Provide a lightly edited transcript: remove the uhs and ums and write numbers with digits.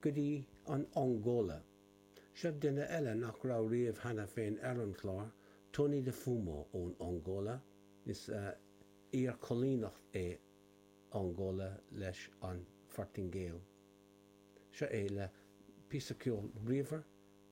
Go dtí an Angóla. Seo duine eile nach raibh riamh cheana féin ar an chlár, Tony de Fumo ón Angóla. Is iarchoilíneacht é Angóla leis an Phortaingéil. Seo é le píosa ceoil bríomhar.